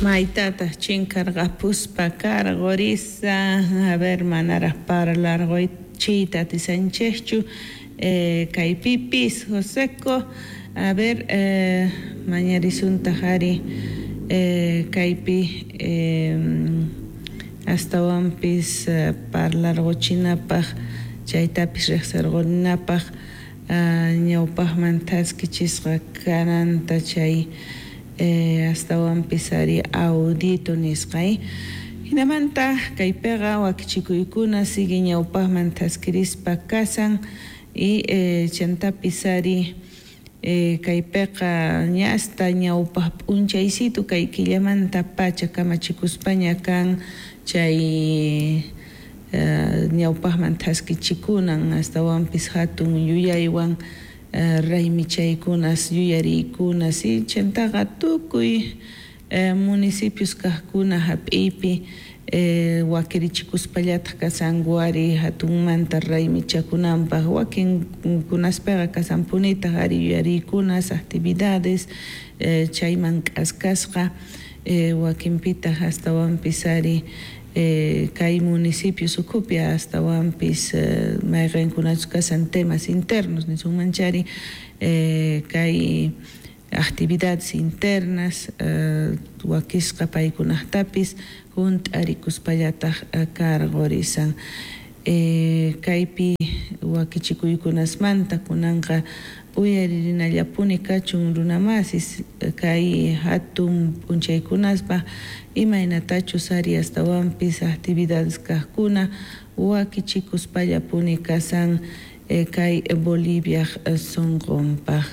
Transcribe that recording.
Maytataj chinkarqapuspa karqurisa. A ver, manaraj parlarquychiyta atisanchejchu kaypipis Joseco. A ver, mañarisuntaj ari kaypi astawanpis parlarquchinapaj chaytapis riqsirqurinapaj ñawpajman thaskichisqa kananta chay astawanpis ari audito nisqa. Jinamanta kaypiqa wakichikuykuna sigue ñawpajman thaskirispa kasan y chantapis ari kaypiqa ña hasta ñawpaj p'unchaysitu kay killamanta pacha kamachikuspaña kan chay ñawpajman thaskichikunan astawanpis hatun yuyaywan raymichaykunas yuyariykunas y chantaqa tukuy municipios kajkuna hap'iypi wakirichikuspallataq kasanku ari hatunmanta raymichakunanpaq wakinkunaspiqa kasanpunitaq ari yuyariykunas actividades chayman k'askasqa wakinpitaq astawanpis ari kay municipios ukhupi astawanpis mayqinkunachus kasan temas internos nisunman chari kay actividades internas wakisqa paykunaqtapis hunt'arikuspallataq karqurisan. Kaypi wakichikuykunasmanta kunanqa uyarinallapuni kachun runamasis kay hatun p'unchaykunaspa imaynatachus ari astawanpis actividades kajkuna wakichikuspallapuni kasan kay Boliviaj sunqunpaq.